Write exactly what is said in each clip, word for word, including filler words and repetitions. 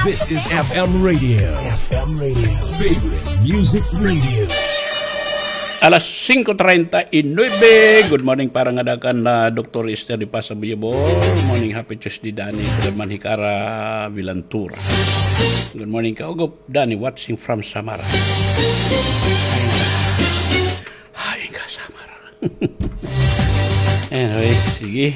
This is F M Radio. F M Radio. Favorite Music Radio. Alas singko treinta y nuebe. Good morning para ngada kan Doktor Esther de Pasa Buyabor. Morning, happy Tuesday, Danny. Sugad man hi Kara Vilantura. Good morning, Kaugop. Danny, watching from Samar. Hain ka, Samar. Anyway, sige.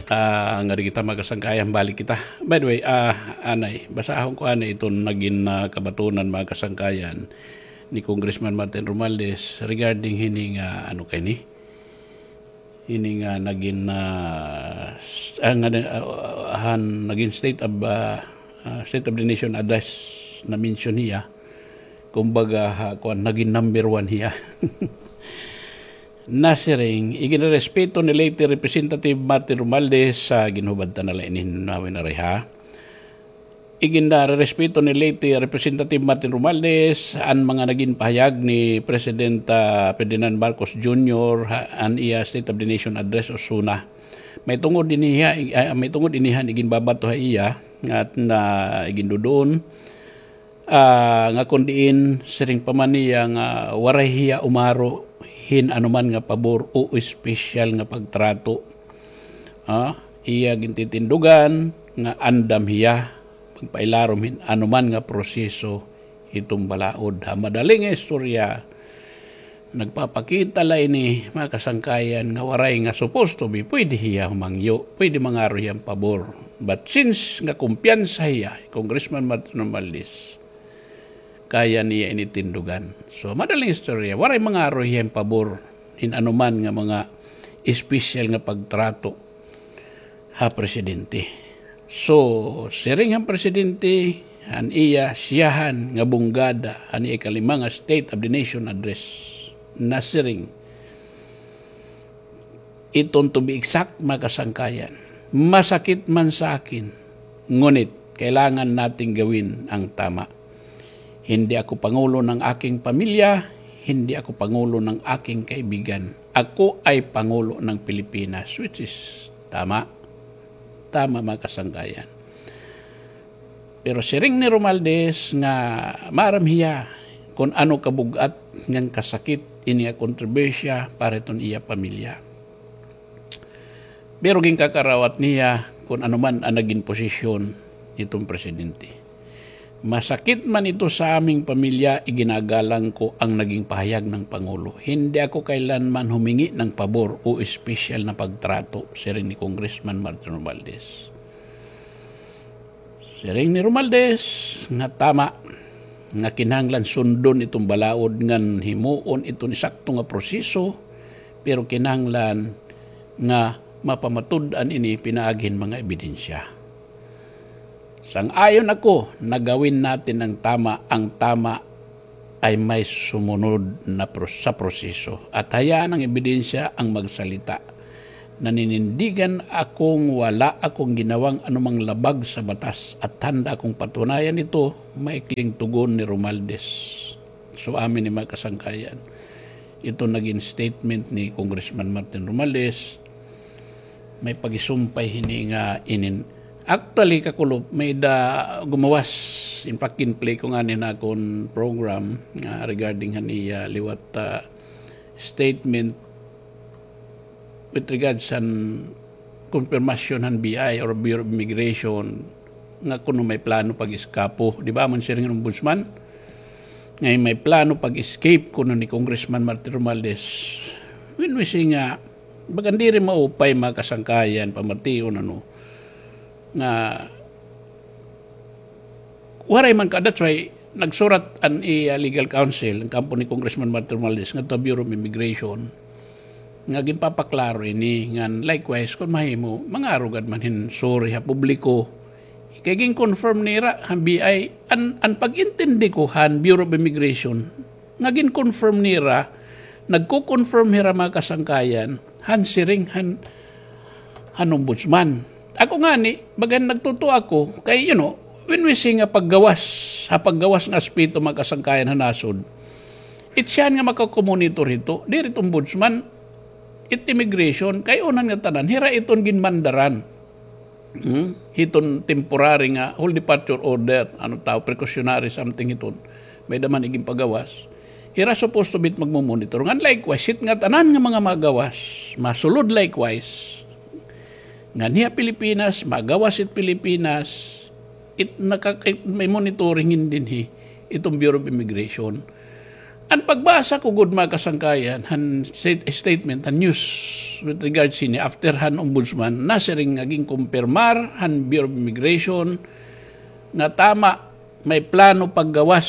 Ah, ah, ngadi kita, mga kasangkayan, balik kita. By the way, ah, anay, basahon ko anay iton nagin, ah, kabatunan, mga kasangkayan, ni Congressman Martin Romualdez regarding hini nga, ano kay ni? Hini nga nagin, ah, s-, ah, nga, ah, han nagin State of, ah, ah, State of the Nation Address na mention hiya. Kumbaga, ha, kuan, nagin number one hiya. Nasiring, iginrerespeto ni late Representative Martin Romualdez, sa ginhubad ta na la ini, nawin na ha. Iginrerespeto ni late Representative Martin Romualdez an mga nagin pahayag ni President, ah, Ferdinand Marcos Junior, ha, an iya State of the Nation Address o SONA. May tungod ini ha, ah, may tungod ini han iginbabato ha iya, nga, na iginduduon, ah, nga kon diin, siring pa man niya nga waray hiya umaro hin anuman nga pabor o espesyal nga pagtrato. Ah, iya gintitindugan nga andam hiya magpailarom hin anuman nga proseso hiton balaod. Ha madaling nga istorya, nagpapakita la ini, mga kasangkayan, nga waray nga supposed to be, pwede hiya humangyo, pwede mangaro hiya hin pabor. But since nga kumpiyansa hiya, Congressman Martin Romualdez, kaya niya ini tindugan. So, madaling istorya, waray mangaro hiya hin pabor hin anuman nga mga espesyal nga pagtrato ha presidente. So, siring han presidente, han iya siyahan nga bunggada, han iya ikalima nga State of the Nation Address, nasiring, iton to be exact, mga kasangkayan, masakit man sa akin, ngunit kailangan nating gawin ang tama. Hindi ako pangulo ng aking pamilya, hindi ako pangulo ng aking kaibigan. Ako ay pangulo ng Pilipinas, which is tama. Tama, mga kasangkayan. Pero siring ni Romualdez nga maaram hiya kon ano kabug-at ngan kasakit ini nga kontrobersiya para hiton iya pamilya. Pero ginkakarawat niya kon ano man an nagin posisyon niton presidente. Masakit man ito sa aming pamilya, iginagalang ko ang naging pahayag ng Pangulo. Hindi ako kailanman humingi ng pabor o espesyal na pagtrato, siring ni Congressman Martin Romualdez. Siring ni Romualdez nga tama nga kinahanglan sundon iton balaod ngan himuon iton isakto nga proseso, pero kinahanglan nga mapamatud-an ini pinaagi hin mga ebidensya. Sang-ayon ako na gawin natin ang tama, ang tama ay may sumunod na pro-, sa proseso at hayaan ang ebidensya ang magsalita. Naninindigan akong wala akong ginawang anumang labag sa batas at handa akong patunayan ito, maikling tugon ni Romualdez. So, amin ni mga kasangkayan. Ito nagin statement ni Congressman Martin Romualdez. May pagisumpay hini nga inin. Actually, kakulop, may da gumawas. In fact, kin-play ko ngani ha akon program, ah, regarding han iya liwat, ah, statement with regards han konpermasyon han B I or Bureau of Immigration nga kuno may plano pag-eskapo. Di ba, amon siring han Ombudsman? Nga may plano pag-escape kuno ni Congressman Martin Romualdez. When we say nga, bagan diri maupay, mga kasangkayan, pamation, ano, nga waray man ka, that's why nagsurat an iya legal counsel, an kampo ni Congressman Martin Romualdez, ngadto ha Bureau of Immigration, nga ginpapaklaro ini, ngan likewise, kon mahimo, mangaro gad man hin sorry ha publiko. Kay gin-confirm nira han B I, an, an pag-intindi ko han Bureau of Immigration, nga gin-confirm nira, nagko-confirm hira, mga kasangkayan, han siring han, han Ombudsman. Ako ngani, bagan nagtutuo ako, kay, you know, when we say nga paggawas, ha paggawas nga aspeto, mga kasangkayan, ha nasod, it siya nga makakomonitor hito, diri it Ombudsman, it Immigration, kay unan nga tanan, hira iton ginmandaran. Hmm? Hiton temporary nga hold departure order, ano taw, precautionary something hiton. May-ada man iginpagawas. Hira supposed to be it magmo-monitor. Ngan likewise, hit ngatanan nga mga magawas, masulod likewise. Ngan hiya Pilipinas, magawas it Pilipinas, it naka-, it may monitoring hin dinhi, iton Bureau of Immigration. An pagbasa ko gud, mga kasangkayan, han state-, statement, han news with regards hini after han ombudsman, nasiring nga ginkumpirmar han Bureau of Immigration nga tama, may plano paggawas,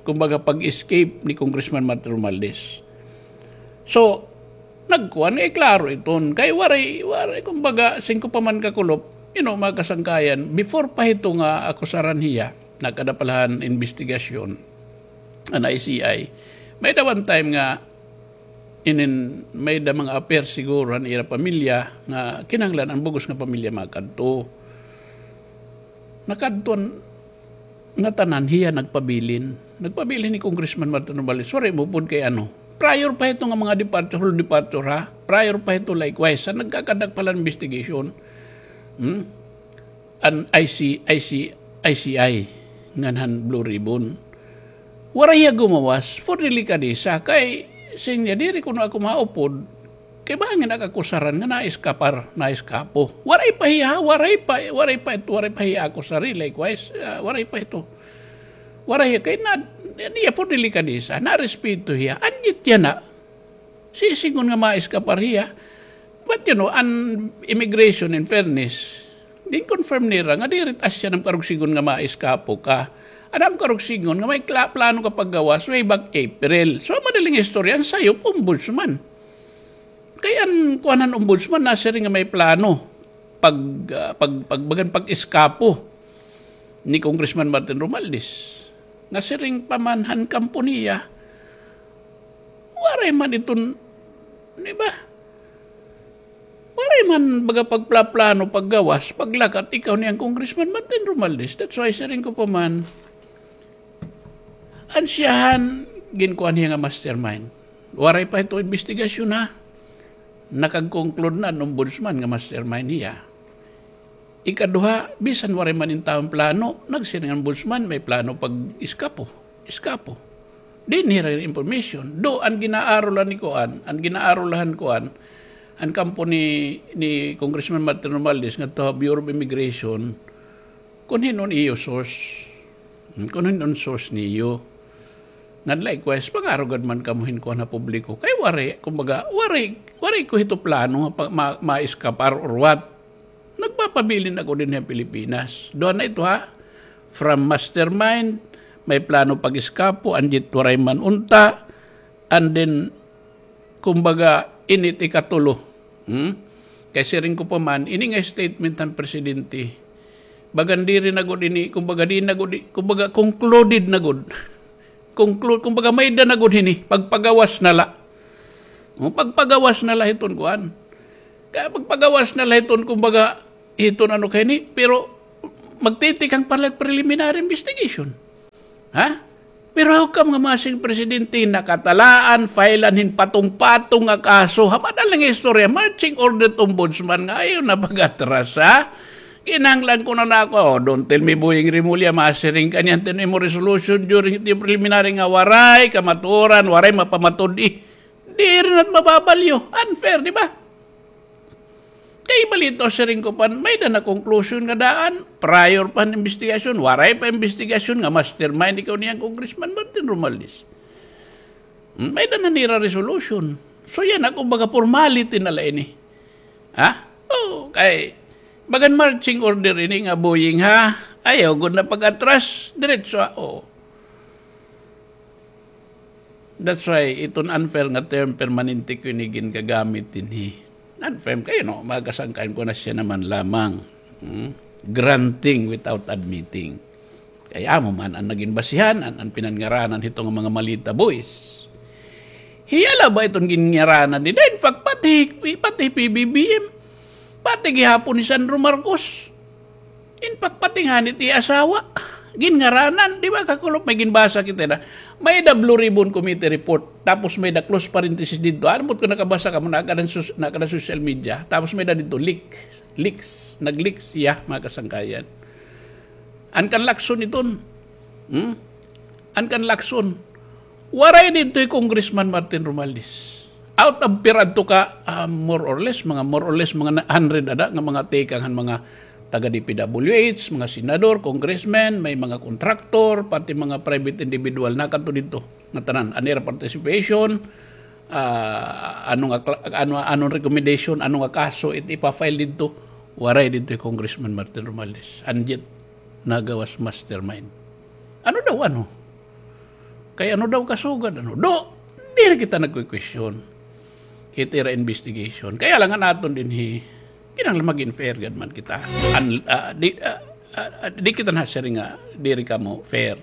kumbaga pag-escape ni Congressman Martin Romualdez. So, nagkuan nga iklaro iton. Kay waray, waray, kumbaga, singko pa man kakulop, you know, mga kasangkayan, before pa hito nga akusaran hiya, nagkada pa la han investigasyon an I C I. May-ada one time nga inin, may-ada mga affair siguro han ira pamilya nga kinahanglan an bug-os nga pamilya makadto. Nakadto an ngatanan, hiya nagpabilin. Nagpabilin hi Congressman Martin Romualdez, waray mo pod kay ano. Prior pa hito nga mga departure, hold departure ha. Prior pa hito likewise. Sa nagkakadak pa la investigation. Hmm? An I C, I C, I C I, ngan han Blue Ribbon. Waray hiya gumawas, for delikadesa, kay siring niya, diri kuno ako maupod, kay bangin ak akusaran nga naiskapar, naiskapo. Waray pa hiya, waray pa, waray pa ito, waray pa hiya akusari, likewise, ah, waray pa ito. Waray hiya, kay na, niya for delikadesa, narespeto hiya, anggit hiya na. Sisingon nga maiskapar hiya. But, you know, an immigration, in fairness, gin-confirm nira nga diri it asya an am karuyag sidngon nga maiskapo ka. An am karuyag sidngon nga may kla-, plano ka paggawas way back April. So, an madaling istorya, an sayop, ombudsman. Kay an kuan han ombudsman, nasiring nga may plano pag, ah, pag, pag, bagan pag-eskapo ni Congressman Martin Romualdez. Nasiring pa man han kampo niya, waray man iton, di ba? Waray man baga pagplaplano, paggawas, paglakat, ikaw niyan Congressman Martin Romualdez. That's why siring ko pa man, an siyahan, ginkuan hiya nga mastermind. Waray pa ito investigasyon, ha. Nakag-conclude na an ombudsman nga mastermind hiya. Ikaduha, bisan waray man in taon plano, nagsiring an ombudsman, may plano pag-eskapo. Eskapo. Di nira information. Do, an ginaaro la ni kuan, an ginaaro la han kuan, an kampo ni, ni Congressman Martin Romualdez ngadto ha Bureau of Immigration, kon hin-o an iyo source. Hmm, kon hin-o an source niyo. Ngan likewise, pag-aro gad man kamo hin kuan ha publiko. Kay waray, kumbaga, waray, waray ko hito plano nga pa-, ma-, ma-eskapar or what. Nagpapabilin ako dinhi ha Pilipinas. Duha na ito, ha? From mastermind, may plano pag-eskapo, anggit waray man unta, and then, kumbaga, ini it ikatulo. Hmm? Kay siring ko pa man, ini nga statement han presidente, bagan diri na gud ini, kumbaga, di na gud, kumbaga, concluded na gud. Conclude, kumbaga, may-ada na gud hini, pagpagawas na la. Oh, pagpagawas na la hiton kuan. Kay pagpagawas na la hiton, kumbaga, hiton ano kay ni, pero magtitikhang pa la preliminary investigation. Ha? Pero how come nga masiring presidente, nakatalaan, filean hin patong-patong nga kaso? Ha, madaling istorya, marching order it ombudsman nga ayaw na pag-atras, ha? Kinahanglan ko na nako, oh, don't tell me Boying Remulla, masiring ka niyan, tin imo resolution during it preliminary nga waray kamatuoran, waray mapamatud-i. Diri na it mababalyo. Unfair, di ba? Kay balita siring ko pa, may-ada na conclusion nga daan, prior pa han investigasyon, waray pa investigasyon nga mastermind ikaw niyan Congressman Martin Romualdez. Hmm, may-ada na nira resolution. So yana, kumbaga, formality na la ini. Ha? Oh, kay bagan marching order ini nga Boying, ha? Ayaw gud na pag-atras, diretso, ha? Oh. That's why iton unfair nga term, permanente ko ini gingagamit dinhi. Unfair kay, no, mga kasangkayan, ko na siya naman lamang. Hmm? Granting without admitting. Kay amo man an nagin basihan, an, an pinanngaranan hito nga mga Malita Boys. Hiya la ba iton ginngaranan nira? In fact, pati, pati P B B M, pati gihapon ni Sandro Marcos. In fact, pati ngani it iya asawa, ginngaranan, di ba, kakulop, may ginbasa kita na. May-ada Blue Ribbon Committee report, tapos may-ada close parenthesis didto. Ano mo, kung nakabasa kamo, naa ka na sus-, naa ka na social media, tapos may-ada didto, leak, leaks, nag-leak siya, mga kasangkayan. An kan Lacson iton. Hmm? An kan Lacson. Waray didto hi Congressman Martin Romualdez. Out of pira adto ka, ah, more or less, mga more or less, mga na-, hundred ada nga mga tikang han mga taga D P W H, mga senador, congressman, may mga contractor, pati mga private individual, nakadto didto. Nga tanan, an ira participation, ah, ano nga kla-, ano, anong recommendation, ano nga kaso it ipa-file didto, waray didto hi Congressman Martin Romualdez. And yet, nagawas mastermind. Ano daw, ano? Kay ano daw kasugad, ano? Do, diri kita nagkukwestiyon. It ira investigation. Kaya lang an aton dinhi, kinahanglan mag-fair gad man kita. An-, ah, di, ah, ah, ah, di kita nasiring nga diri kamo fair.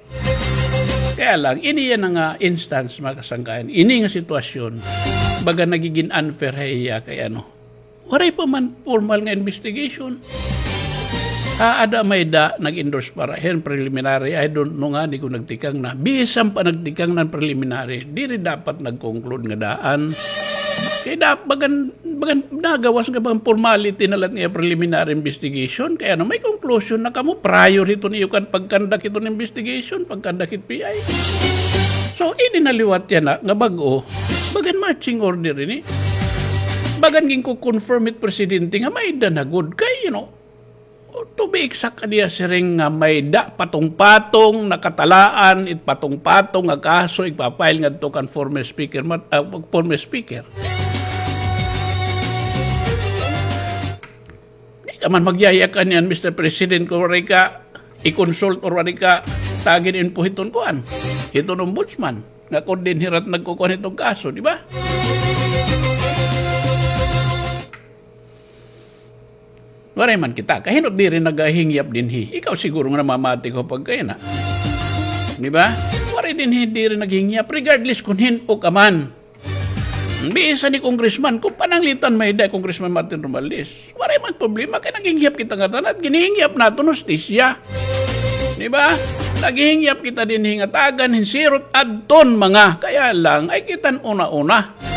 Kaya lang, ini yana nga instance, mga kasangkayan, ini nga sitwasyon, baga nagigin unfair ha iya kay ano, waray pa man formal nga investigation. Aada may-ada nag-endorse para hin preliminary. I don't know ngani kon nagtikang na. Bisan pa nagtikang na an preliminary, diri dapat nag-conclude nga daan. Kay dap-, bagan, bagan nagawas nga bagan formality na la nga preliminary investigation. Kay ano, may conclusion na kamo prior hiton iyo kan pag-conduct hiton investigation, pag-conduct hit P I. So, ini na liwat yana nga bag-o. Bagan marching order ini. Bagan ginko-confirm hit presidente nga may-ada na gud. Kay, you know, to be exact, an iya siring nga may-ada patong-patong nakatalaan, it patong-patong nga kaso igpa-file ngadto kan former speaker, mat-, ah, former speaker. Di ka man magyaya kaniyan, Mister President, kon waray ka i-consult or waray ka tagin info hiton kuan, hiton ombudsman. Nga kon dinhi rat nagkukuan hiton kaso, di ba? Waray man kita. Kay hin-o diri naghihingyap dinhi? Ikaw siguro nga namamati ko pagkayana. Di ba? Waray dinhi diri naghihingyap. Regardless kon hin-o ka man. Bisan ni Congressman, kon pananglitan may-ada Congressman Martin Romualdez. Waray man problema, kay naghingyap kita ngatanan, ginhingyap naton hustisya. Di ba? Naghingyap kita dinhi nga tagan hin sirot adton mga. Kaya lang, ay kita hin una-una.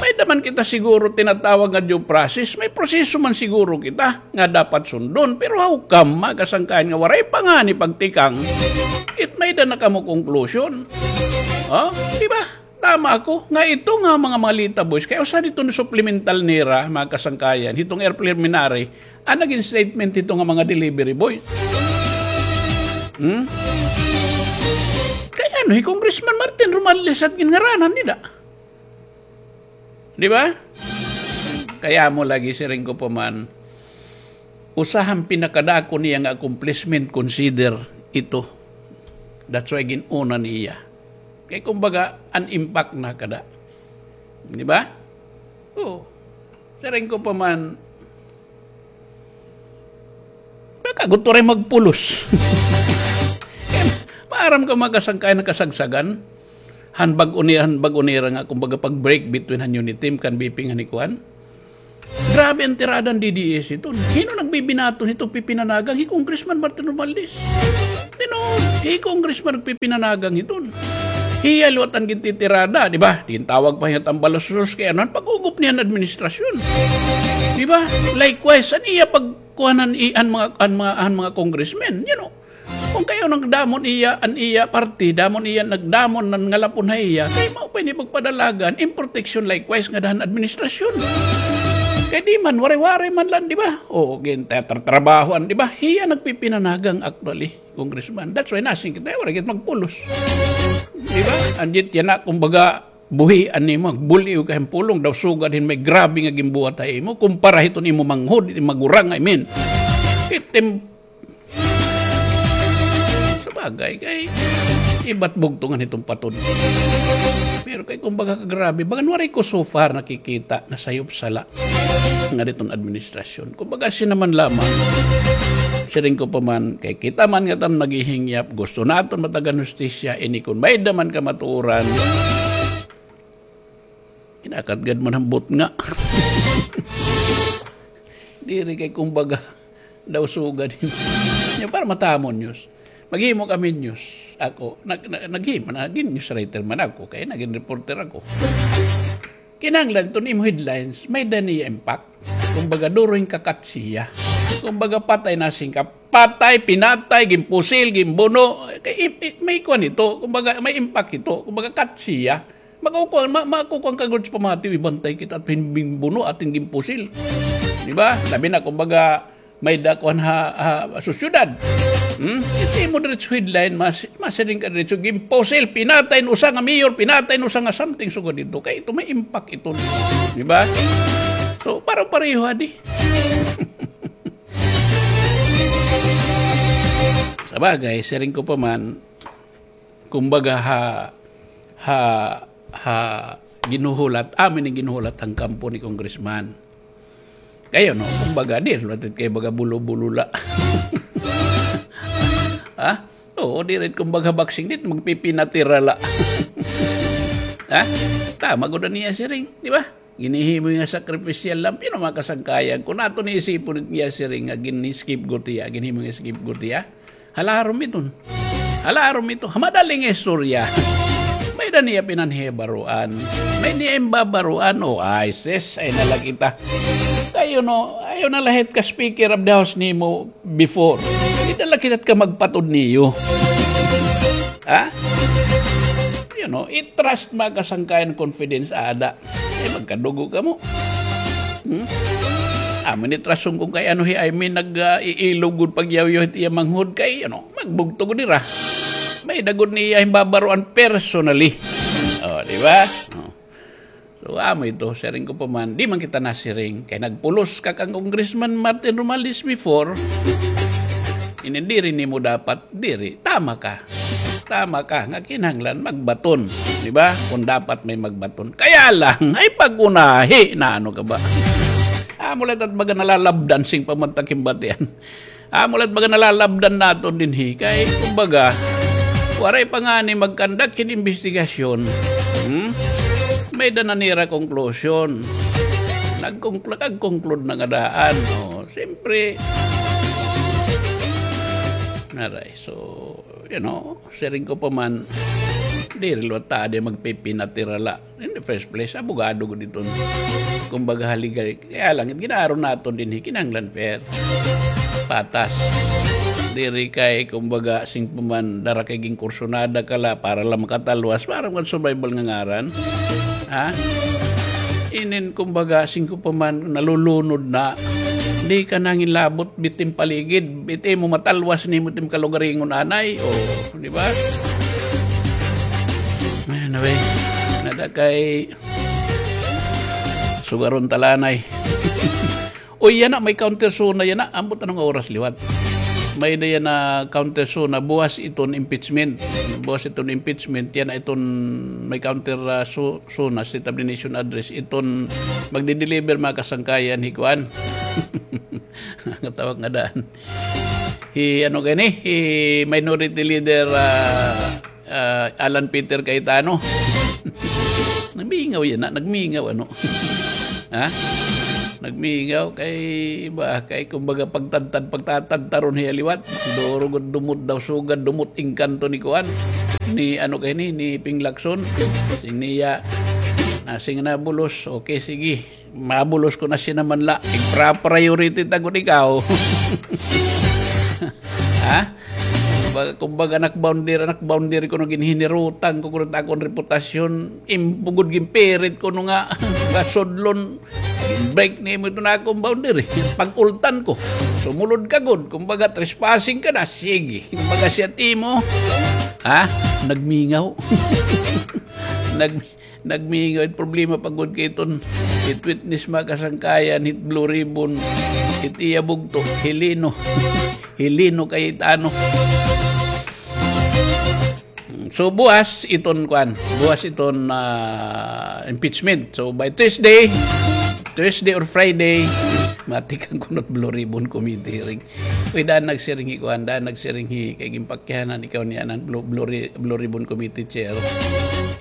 May-ada man kita siguro tinatawag nga due process. May proseso man siguro kita nga dapat sundon. Pero how come, mga kasangkayan, nga waray pa ngani pagtikang, it may-ada na kamo conclusion? Ha? Di ba? Tama ako nga ito nga mga Malita Boys, kay usa dito na supplemental nira, mga kasangkayan, hitong air preliminary, an naging statement hito nga mga delivery boy. Hmm? Kay ano, hi Congressman Martin Romualdez it ginngaranan, dida? Di ba? Kay amo lagi, siring ko pa man, usa han pinakadako niya nga accomplishment, consider ito. That's why gin-una niya. Kay kumbaga, an impact na kada. Di ba? Oo. Siring ko pa man, baka gusto rin magpulos. Kay maaram ka, mga kasangkayan, nga kasagsagan. Han bag-o nira, han bag-o nira nga, kumbaga, pag-break between han UNITIM kan B P ngan hi kuan. Grabe an tirada han D D S hiton. Hin-o nagbibinaton hito, pipinanagang? Hi Congressman Martin Romualdez. Tinuod, hi Congressman nagpipinanagang hiton. Hiya liwat an gintitirada, di ba? Gintawag pa hiya tambalos-usos kay ano, an pag-ugop niya han administrasyon. Di ba? Likewise, an iya pagkuhanan i-, an mga, an mga, an mga congressmen, you know. Kon kay ano, nagdamon iya, an iya party, damon iya, nagdamon nan ngalapon ha iya, kay mao pa ini pagpadalagan, in protection likewise ngada han administrasyon. Kay di man, waray-waray man lang, di ba? O, gintatrabahoan, di ba? Hiya nagpipinanagang actually, Congressman. That's why nasing kita, waray kita magpulos. Di ba? Anjit yana, kumbaga, buhian nimo, magbul-i ka hin pulong, daw sugad hin may grabe nga ginbuhat ha imo, kumpara hiton imo manghod, hiton magurang, I mean. Itim. Sabagay, kay iba it bugto ngan hiton patod. Pero kay kumbaga kagrabe, bagan waray ko so far nakikita nga sayop sala nga diton administrasyon. Kumbaga, sina man lamang, siring ko pa man, kay kita man nga tanan naghihingyap, gusto naton matagan hustisya, ini kon may-ada man kamatuoran, kinakatgad man han butnga. Diri kay kumbaga, daw sugad hin-, nya para matamon news. Maghimo kami news. ako, nag-, nag-, naghi-, nagin news writer man ako, kay nagin reporter ako. Kinahanglan iton imo headlines, may-ada niya impact. Kumbaga, duro hin kakatsiya. Kumbaga, patay na singkap. Patay, pinatay, ginpusil, ginbuno. Kay, i-, i-, may kuan ito. Kumbaga, may impact ito. Kumbaga, katsiya. Makukuha, ma-, makukuha ka gud sa pamati, ibantay kita at ginbuno, atin ginpusil. Di ba? Labi na, kumbaga, may-ada kuan ha, ha sosyedad. Hmm? Imo diretso headline, mas-, masiring ka diretso, ginpusil, pinatay hin usa nga mayor, pinatay hin usa nga something, sugad didto. Kay ito, may impact ito. Di ba? So, paro-pareho, adi. Sabagay, siring ko pa man, kumbaga ha, ha, ha ginhuhulat, amin an ginhuhulat han kampo ni Congressman. Kay ano, kumbaga, diri la kay baga bulo-bulo la. Ha? Oo, diri kumbaga boxing, diri magpipinatira la. Ha? Tama gud an iya siring, di ba? Ginhihimo nga sacrificial lamb, pero mga kasangkayan, kun aton iisipon it iya siring nga gin-scapegoat hiya, ginhimo nga scapegoat hiya. Hala, aram iton. Hala, aram ito. Ha madaling istorya. May-ada niya pinanhibaroan. May niya imbabaroan. O, ay, sis, ay na la kita. Kay, you know, ayaw na la hit ka Speaker of the House nimo before. Di na la kita ka magpatod niyo. Ha? You know, i-trust mga kasangkayan, confidence, aada. Ay, magkadugo kamo. Hmm? Amo ini trason kun kay ano hi, I mean, nag, ah, iilog gud pagyawyaw hit iya manghod kay, ano, magbugto gud dira. May-ada gud niya himbabaroan personally. O, di ba? O. So, amo ito, siring ko pa man, di man kita nasiring. Kay nagpulos ka kan Congressman Martin Romualdez before. Inin diri nimo dapat, diri. Tama ka. Tama ka, nga kinahanglan magbaton, di ba? Kung dapat may magbaton. Kaya lang, ay pag-unahi na ano ka ba? Amo la it at baga nalalabdan sing pamantakimbatian. Amo la it baga nalalabdan naton dinhi. Kay, kumbaga, waray pa ngani magkandak hin imbestigasyon. Hmm? May-ada na nira conclusion. Nagkonklu-, nagkonklude na nga daan. O, siyempre. Aray, so, you know, siring ko pa man, diri liwat ta adi magpipinatira la. In the first place, abogado gud iton. Kumbaga, haligay. Kaya lang, it gin-aaro naton dinhi, kinahanglan fair. Patas. Diri kay, kumbaga, sing pa man, dara kay ginkursunada ka la, para la makatalwas, para man survival nga ngaran. Ha? Inin, kumbaga, sing ko pa man, nalulunod na. Di ka nangin labot, bitim paligid, bitim mo matalwas nimo tim kalugaringon anay. O, di ba? Anyway, nada kay sugaron talanay. Uy, yana, may counter SONA yana. Ambot ano nga oras liwat. May-ada yana counter SONA, buwas iton impeachment. Buwas iton impeachment, yana iton may counter, ah, so-, SONA, State of the Nation Address. Iton magdi-deliver mga kasangkayan, hi kuan. Nga tawag nga daan. Hi, ano kay ni? Hi Minority Leader, ah, ah, Alan Peter Cayetano. Nagmingaw yana, nagmingaw, ano? Ha? Nagmingaw kay, ba, kay kumbaga pagtadtad, pagtatadtaron hiya liwat. Duro gud dumot daw sugad, dumot engkanto ni kuan. Ni, ano kay ni, ni Ping Lacson. Sing niya, nasing nabulos, okay, sige. Mabulos ko na siya naman la. Ig-pra-, priority ta gud ikaw. Ha? Kumbaga, kumbaga, nak-boundary, nak-boundary kuno, ginhinirutang ko kuno akon reputasyon. Imbugod, ginpirit kuno nga kasudlon. Break nimo ito na akong boundary. Pag-ultan ko. Sumulod ka gud. Kumbaga, trespassing ka na. Sige. Kumbaga, siya timo. Ha? Nagmingaw. Nag- Nagmingaw it problema pa gud kay iton, it witness mga kasangkayan, it Blue Ribbon, it iya bugto, Heleno. Heleno Cayetano. So, buwas iton, kuan, buwas iton, ah, impeachment. So, by Thursday, Thursday or Friday, Matikan kuno it Blue Ribbon Committee hearing. Uy, daan nagsiring hi kuan, daan nagsiring hi, kay ginpakihanan ikaw niya nan Blue, Blue, Ri-, Blue Ribbon Committee chair.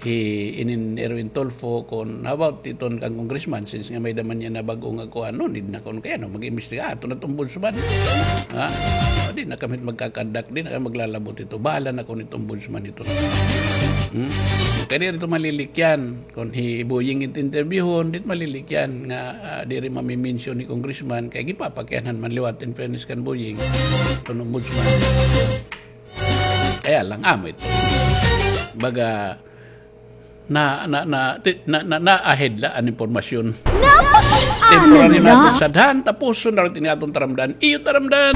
Hi inin Erwin Tulfo, kon how about iton kan congressman, since nga may-ada man niya na bag-o nga kuan, no, need na kon kaya, no, mag-imbestiga, ah, ato na it ombudsman. Ha? O, di na kami magkakandak, di na kami maglalabot ito. Bahala na kon it ombudsman ito. Hmm? Kaya di ito malilikyan. Kon hi Boying it interviewhon, di it malilikyan nga, ah, diri mami-mention ni congressman, kay ginpapakianhan man liwat in fairness kan Boying, kon ombudsman. Kaya lang, amo ito. Baga, na, na, na, ti-, na, na, na-ahead la an impormasyon. Temporary na aton sadhan, tapos sunod ini aton taramdan. Iyo taramdan.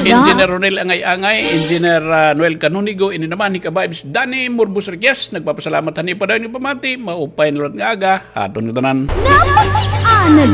Engineer Ronel Angay-Angay, Engineer, ah, Noel Canonigo, ini naman hi ka-vibes Danny Murbos Riquez, nagpapasalamat han iyo padayon nga pamati, maupay nga liwat nga aga, ha aton ngatanan. Napaki-anad